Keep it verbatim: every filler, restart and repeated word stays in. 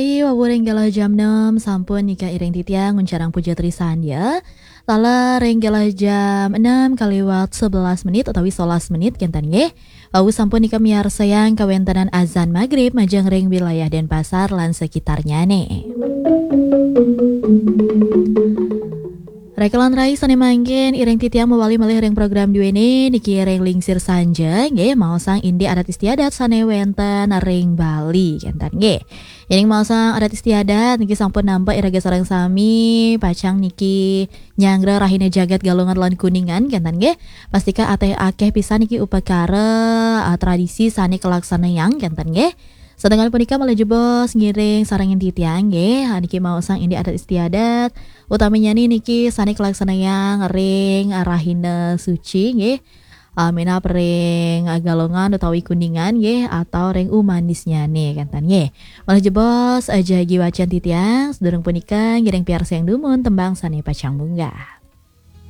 Wau ring galah jam enam sampun nika iring titiang nguncarang puja trisandya. Taler ring galah jam enam kaliwat sebelas menit utawi sebelas menit kenten nggih. Wau sampun nika miarsayang kawentenan azan magrib majeng ring wilayah Denpasar lan sekitarnyane. Rekalan rai sane mangkin iring titiang mawali malih ring program duene niki ring Lingsir Sanja nggih, maosang indik adat istiadat sane wenten ring Bali kenten nggih. Yening maosang adat istiadat niki sampun nampak iraga sareng sami pacang niki nyanggra rahina jagat Galungan lan Kuningan kenten nggih. Pastika ateh akeh pisan niki upakara, ah, tradisi sane kalaksanayang kenten nggih. Sedenggal punika malih jebos ngiring sarengin titiang nggih, niki maosang indik adat istiadat, utaminyane niki sane kalaksanayang ring rahina suci nggih. Ah, minab ring, ah, Galungan utawi Kuningan nggih, atau ring umanisnyane kenten nggih. Malih jebos, ah, jagi wacan titiang, sedurung punika ngiring piarsayang dumun tembang sane pacang munggah.